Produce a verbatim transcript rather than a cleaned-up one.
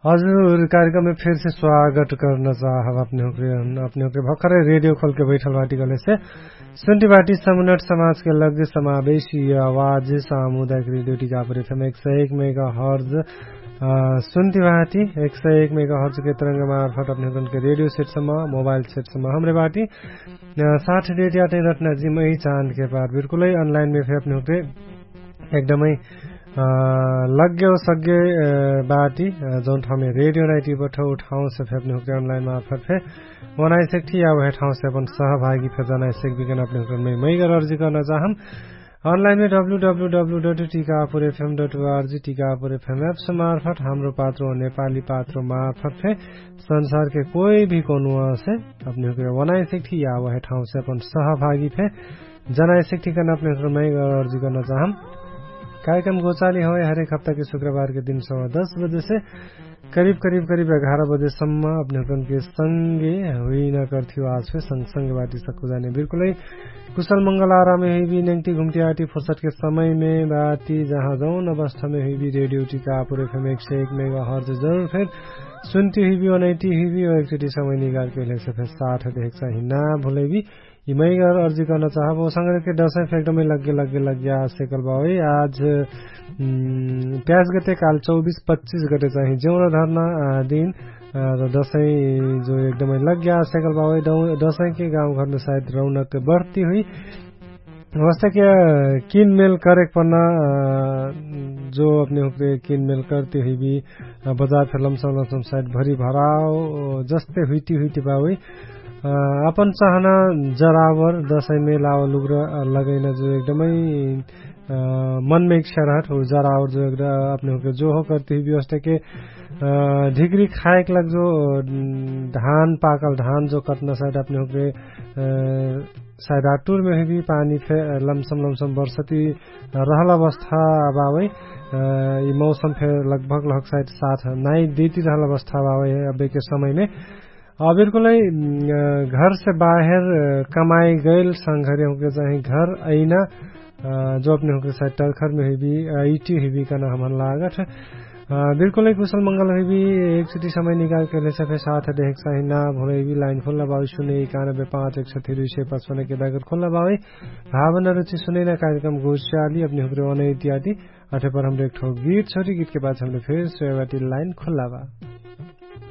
हजुर, कार्यक्रममे फेरसे स्वागत कर्न चाहब। अपने हुँक्रे अपने हुँक्रे भखरै रेडियो खोलके बैठल बाटी कहलेसे सुन्टी बाटी समुनट समाजके लग्गे समावेशी आवाज सामुदायिक रेडियो टिकापुर एफएम एक सय एक मेगा हर्ज। सुन्टी बाटी एक सय एक मेगा हर्जके तरंग मार्फट अपने हुँक्रे रेडियो सेटसम्म मोबाइल सेटसम्म हमरे बाटी। साठ डेट याटै रटना जिम्मै चाँदके पार बिल्कुलै अनलाइनमे फे अपने हुँक्रे एकदमै लग्गेउ सग्गे बाटी। जौन ठाउँमे रेडियो नाइटी बठौ ठाउँसे फे अपने हुँक्रे अनलाइन मार्फट फे बनाइसक्ठी या उहे ठाउँसे अपन सहभागी फे जनाइसक्बिकन अपने हुँक्रे मै मैगर अर्जी कर्न चाहम। अनलाइनमे W W W dot Tikapur F M dot O R G Tikapur F M apps मार्फट हाम्रो पात्रो नेपाली पात्रो मार्फट फे संसारके कोइ भी कोनुवासे अपने हुँक्रे बनाइसक्ठी या उहे ठाउँसे अपन सहभागी फे जनाइसक्ठी कर्न अपने हुँक्रे मै अर्जी कर्न चाहम। कार्यक्रम गोचाली हवै हरेक हप्ताके शुक्रबारके दिन सवा दस बजेसे करिब करिब करिब एघार बजेसम्म अपने हुँक्रे सँगे हुइना कर्थियो आज फे सँगसँगे बाटी सक्कु जाने बिल्कुलै कुशल मंगल आरामे हुइबी नेङ्टी घुम्टी आटी फुर्सटके समयमे बाटी जहाँ जौन अवस्थामे हुइबी रेडियो टिकापुर एफएम एक सय एक मेगा हर्ज जरुर फेर सुन्टी हुइबी ओनैटी हुइबी ओ एकचोटी समय निगारके हुइलेसे फेर साठ देखेक चाही ना भुलैबी। यि मैगर अर्जी कर्न चाहब ओ संग्रहके दसैँ फेर एकदमै लग्गे लग्गे लग्गे आसेकल बावै आज प्याज गते काल चौबिस पच्चिस गते चाही जेउन धर्ना दिन। दसैँ जो एकदमै लग्गे आसेकल बावै दसैँके गाउँघरमे सायद रौनक बढ्ती हुइ। वस्तके किनमेल करेक पर्ना जो अपने हुँक्रे किनमेल कर्ती हुइबी बजार फेर लमसम लमसम सायद भरी भराव जस्ते हुइती हुइती बावै। अपन चाहना जरावर दसैँमे लाव लुग्र लगैना जो एकदमै मनमे इच्छा रहत हो जरावर जो एकदम अपने हुँक्रे जो हो कर्ती हुइबी वस्तके ढिग्री खाएक लग जो धान पाकल धान जो कटना सायद अपने हुँक्रे सायद आटुरमे हुइबी पानी फे लमसम लमसम वर्षती रहल अवस्था बावै। यि मौसम फे लगभग लगभग सायद साथ नाइ देती रहल अवस्था बावै अबेके समयमे। बिल्कुलै घरसे बाहेर कमाइ गैल संघरे हुँक्रे चाही घर अइना जो अपने हुँक्रे सायद टर्खरमे हुइबी अइटी हुइबी कहना हमन लागत। बिल्कुलै कुशल मंगल हुइबी एकचोटी समय निकाल कहलेसे फे साथ देहेक चाही ना भुलैबी लाइन खोल्ला बावै सुने एकानबे पाँच एक सय तिरुसे पचपन्नके दागर खोल्ला बावै। भावना रुचि सुनैना कार्यक्रम गोस्याली अपने हुँक्रे ओनै इत्यादि। अठे पर हमरे एक ठो गीत छोटी गीतके बाद हमरे फेर सोयबाटी लाइन खोल्ला बा।